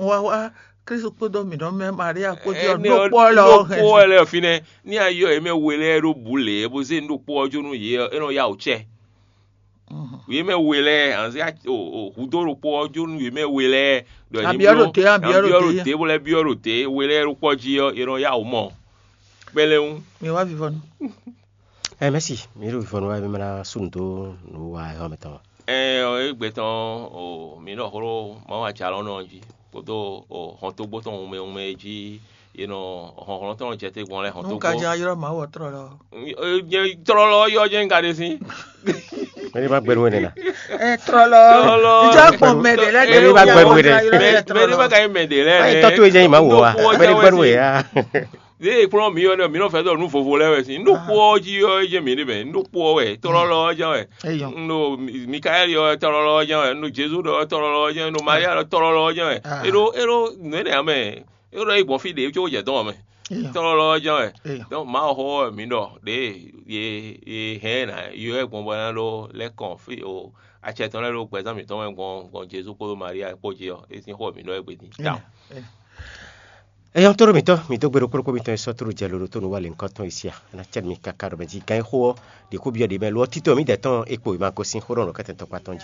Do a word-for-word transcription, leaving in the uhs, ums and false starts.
Wa wá Kristu kpódó mǐ nɔ mɛ Maria kpó jí ɔ́, Énɛ́ ɔ́, ɖokpó ɔ́ lɔ ɔ́ hɛn. Ɖokpó ɔ́ lɛ́ɛ ɔ́ fínɛ́, ní a yɔ yě mɛ we lɛ́ɛ ɖó bǔ lě, bó zé ɖokpó ɔ́ jó nú yě ɔ́, é nɔ yá wǔ cɛ. Yě mɛ we lɛ́ɛ anzé hudó ɖokpó ɔ́ jó nú yě mɛ we lɛ́ɛ ɖɔ ní Abyɔ́ ɖo te, abyɔ́ ɖo te. Ɖo te, bó lɛ́ byɔ́ ɖo te, we lɛ́ɛ ɖokpó ɔ́ jí ɔ́, è nɔ yá wǔ mɔ kpɛ́lɛ́ wú. Mi wá vivɔnu. Ɛ mɛsi, mi ɖo vivɔnu wá mi ná sú nǔ dó nǔ wa ɛ xɔ mɛtɔn. Ɛ ɔ, égbé tɔn o, mi nɔ xló Mawu ajalɔnɔ ɔ́ jí kpódó o hɔntogbó tɔn wunmɛ wunmɛ e jí è nɔ hɔnhlɔn tɔn jɛ te gbɔn lɛ. Nú hɔntogbó ka jɛ ylɔ́ Mawu ɔ́ tlɔlɔ. Nyɛ tlɔlɔ yɔ jɛ un ka ɖe sín. Mɛ ní ma gbɛnu wɛ nɛna. Ɛ tlɔlɔ. Tlɔlɔ. Ìjọ kpɔn mɛ ɖe lɛ Mɛ ní ma gbɛnu wɛ nɛ. Mɛ ní ma ka yi mɛ ɖe lɛ. Ayi tɔtɔ yɛ jɛ yi ma wò wa. Mɛ ní gbɛnu wɛ ya. Ɖé e kplɔ́n mǐ ɔ́ nɛ, mǐ nɔ fɛ́ ɖɔ nǔ vovo lɛ́ɛ wɛ sín. Nú ɖokpó ɔ́ jí ɔ́, é jɛ mǐ ɖe mɛ. Nú ɖokpó ɔ́ wɛ, tlɔlɔ ɔ́ jɛ́n wɛ. Eyɔn. Nú Mikaɛli ɔ́, tlɔlɔ ɔ́ jɛ́n wɛ. Nú Jezu ɖɔ tlɔlɔ ɔ́ jɛ́n wɛ. Nú Maria ɖɔ tlɔlɔ ɔ́ jɛ́n wɛ. Ah. É ɖó é ɖó nǔ énɛ́ ǎ mɛ. É ɖó é gbɔn fí ɖě có jɛ dɔn ɔ́ mɛ. Eyɔn. Tlɔlɔ ɔ́ jɛ́n wɛ. Eyɔn. Donc Mawu xó ɔ́ mǐ ɖɔ ɖě ye ye hɛn ɛ ná yɔ ɛ gbɔn bɔ ná ɖó lɛ́ kɔn fí o acɛ tɔn lɛ́ɛ ɖo gbɛzán mǐtɔn mɛ gbɔn gbɔn Jezu kpódó Maria kpó jí ɔ́, é sín xó mǐ ɖɔ é gbe din. Eyɔn. Eyɔn. Eyɔn tó ɖo mǐtɔn, mǐ dó gbe ɖokpó ɖokpó mitɔn e sɔ́ tlú jɛ lǒ ɖo tó nǔ wa lěhunkɔtɔn e sia. É ná cɛ mi káká ɖɔ mɛ jí gán e xó ɔ́ ɖě kó byɔ́ ɖě mɛ lo ɔ́ títɔn mǐdɛɛ tɔn é kpo è ma gosín xó ɖɔ nǔ kɛ́tɛ́ tɔkpá tɔn jí.